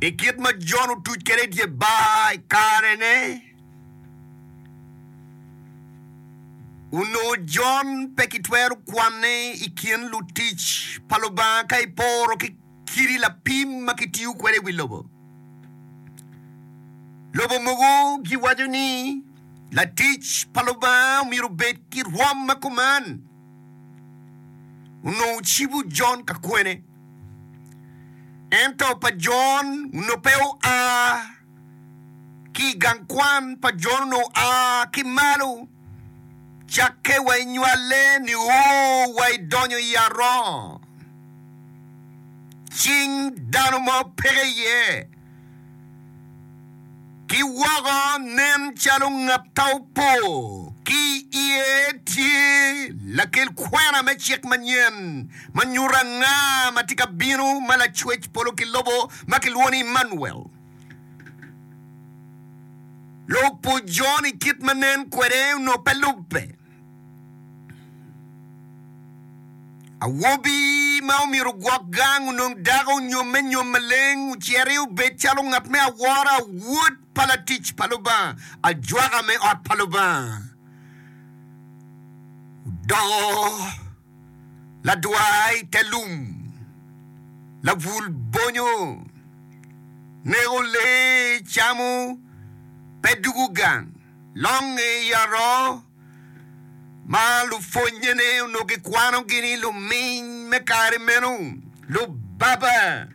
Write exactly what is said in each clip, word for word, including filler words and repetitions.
I kit ma Jon otuc kwede i dye bar i karene, onongo Jon pe kitwero kwanne i kin lutic pa Lubanga ka iporo ki kidi lapim ma kitiyo kwede i wi lobo. Lobo mogo giwaco ni latic pa Lubanga omyero obed ki rwom ma kuman. Onongo ocibo Jon ka kwene? Ento pa Jon onongo pe oa ki i gang kwan pa Jon onongo oa ki malo cakke wa i nywale nio wa i donyo i aroo. Cing dano mo peke iye. Ki woko nen calo ngat ta opo ki i iye tye lakel kwena me cik manyen ma nyuto anga ma tye ka bino ma Lacwec polo ki lobo ma kilwongo ni Immanuel. Lubo Jon i kit ma nen kwede onongo pe lubbe. Awobi ma omyero ogwok gang onong dako onyomme nyom maleng, ociti obed calo ngat me awora, wod pa latic pa Lubanga, ajwaka me ot pa Lubanga. Odoko ladwar i te lum, labul bonyo, neko lee camo, pe dugo gang, longe i aroo. Ma lupwonnyene onongo gikwanogi ni luminy me kare meno, lubaba,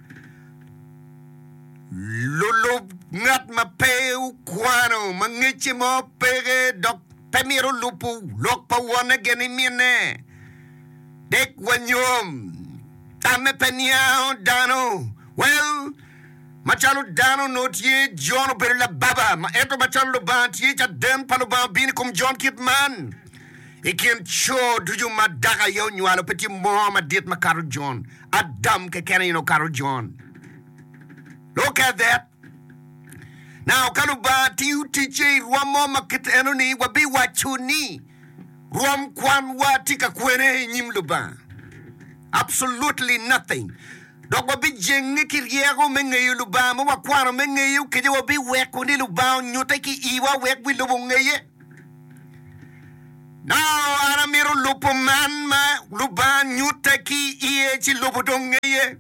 lulub ngat ma pe okwano, ma ngecce mo peke dok pe mito lubo lok pa wonne gin ki minne. Dek wa nyom, tamme pe niango dano. Well, Macalo dano onongo tye, Jon obedo lababa, ma ento macalo Lubanga tye, caden pa Lubanga obino i kom Jon kit man, I kin co ducu ma dako aye onywalo, pe tye mo madit makato Jon. Adam keken aye onongo okato Jon. Look at that. Now, ka Lubanga tiyo ticce i rwom mo ma kit eno-ni, wabiwaco ni rwom kwanwa tye ka kwene i nyim Lubanga? Absolutely nothing. Dok wabijenge ki ryeko me ngeyo Lubanga ma wakwano me ngeyo, kadi wabiweko ni Lubanga onyute ki iwa wek wi lobo ongeye. Nongo an amito lubo man ma Lubanga nyutte ki iye ci lobo dong ngeye.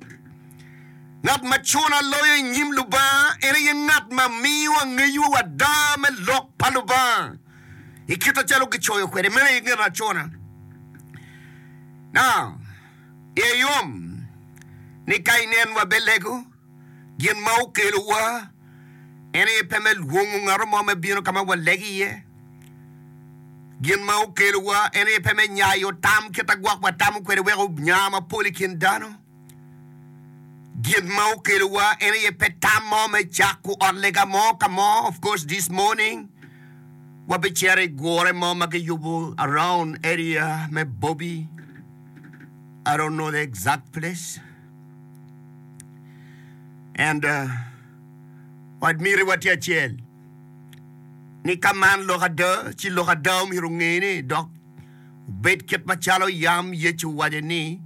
Ngat ma cuna loyo i nyim Lubanga en aye ngat ma miyo angeyo ada me lok pa Lubanga i kite calo gicoyo kwede. Meno aye ngat acuna. Now, Iye yom ni ka inen wabelego, gin ma okelowa en aye pe me lwongo ngat mo me bino ka ma walego iye. Gin ma okelowa en aye pe me nyayo tam kit ma gwok watamo kwede wek onya mapol i kin dano. Gin ma okelowa en aye pe tam mo me cako ot lega mo ka mo. Of course this morning wabicito i gure mo ma kiyubo around area me Bobi. I don't know the exact place. And uh, miti tye acel ni ka man lok ada, ci lok ada omyero ongene dok obed kit macalo yam Yecu owaco ni,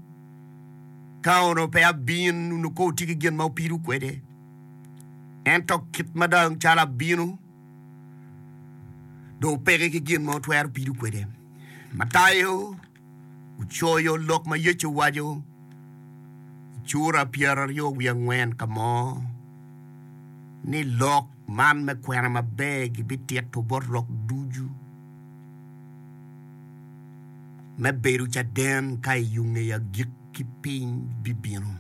Ka onongo pe abin, onongo ko wutye ki gin ma wupido kwede. Ento kit ma dong calo abino, dong wupeke ki gin ma wutwero pido kwede. Matayo ocoyo lok ma Yecu owaco i cura pyeraryo wiye angwen ka mo ni lok man me kwena maber gibitito bot rok ducu me bedo caden ka i yo nge agikki piny bibino.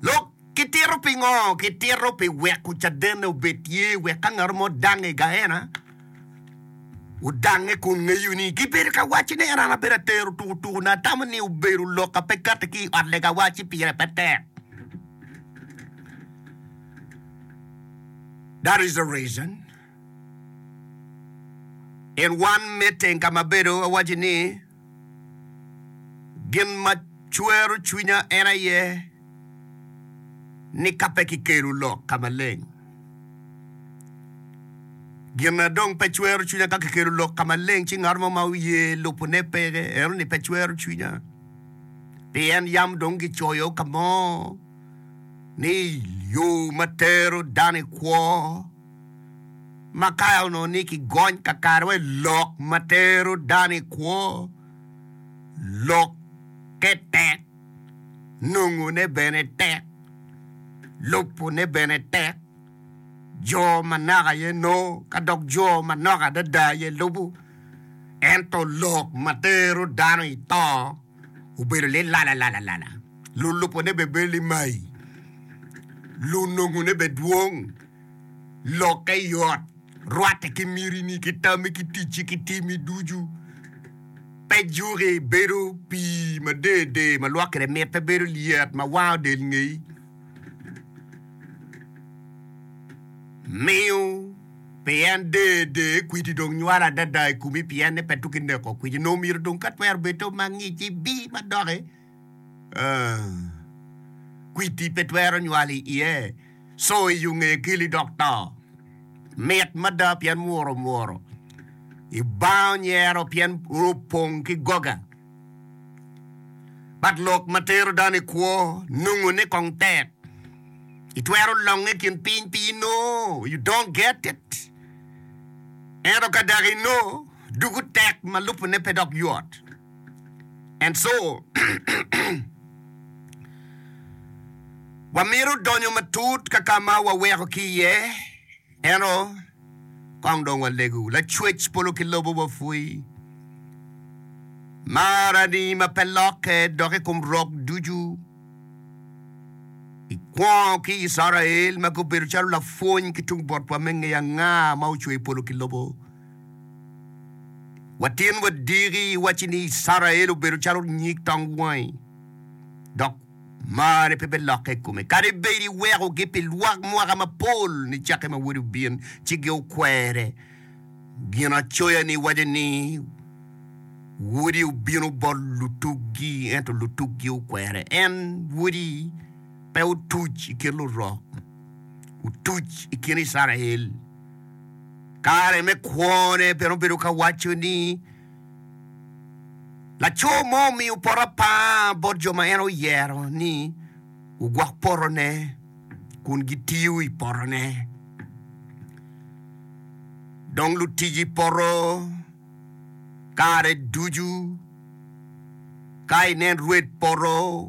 Lok kitito pingo? Kitito pi weko cadenne obed tye wek ka ngat mo dange i Gaena, Odange kun ngeyo ni gibedo ka waco ni en an abedo atero tukutuku na atamo ni obedo lok a pe kati ki i ot legawa ci pire pe tek. That is the reason. In one meeting ka ma abedo awaco ni gin ma cwero cwinya en aye ni ka pe kikelo lok ka maleng. Gin na dong pe cwero cwinya ka kikelo lok ka maleng ci ngat mo ma oye lubone peke, eno ni pe cwero cwinya. Pien yam dong gicoyo ka mo Ni yo ma tero dano i kwo ma ka onongo ni kigony kakare wa i lok ma tero dano i kwo, lokke tek, nongone bene tek, lubone bene tek. Jo manok aye nongo, ka dok jo manok adada aye lubo. Ento lok ma tero dano i to obedo lilalalalalala. Lulubone bene bedo limai, lunongone bene dwong, lokke yot, rwatte ki mitini, ki tammi, ki ticci, ki timmi ducu. Pe juki, bedo pii ma der der ma lwak kwede mit, pe bedo lyet ma wango del ngeyi. Miyo pien der der kwidi dong nywalo adada i komi pien ni pe tuki neko kwidi. Nongo myero dong ka twero bed to ma ngic ibi ma doki kwidi pe twero nywalo i iye. Co i yo nge keli dok to. Mit mada pien mworo mworo. Ibango nyero pien opong ki goga. But lok ma tero dano i kwo nongone kong tek. Itwero longe i kin piny pi inongo, you don't get it. Ento ka dok inongo, dugo tek ma lubone pe dok yot. And so, wamito donyo matut ka ka ma waweko ki iye. Ento kong dong walegu Lacwec polo ki lobo wapwoyi. Marani ma pe lokke dok i kom rok ducu. Ikwongo ki Icrael ma gubedo calo lapwony ki tung botwa me ngeyo anga ma ocweyo polo ki lobo. Watin wadiki iwacci ni Icrael obedo calo nyig tong wangi, dok marri pe bilokke i kome. Kadi bed iwekogi pi lwak mwaka mapol nicakke ma wodi obin ci giokwere, Ginacoya-ni waco ni, Wodi obino bot lutuggi, ento lutuggi okwere. En wodi pe otuc i kin lurok, otuc i kin Icrael. Kare me kwone bene obedo ka waco ni, Laco mo omiyo poto apar bot jo ma en oyero ni ogwok potone kun gitiyo i potone. Dong lutic i poto kare ducu ka inen rwed poto.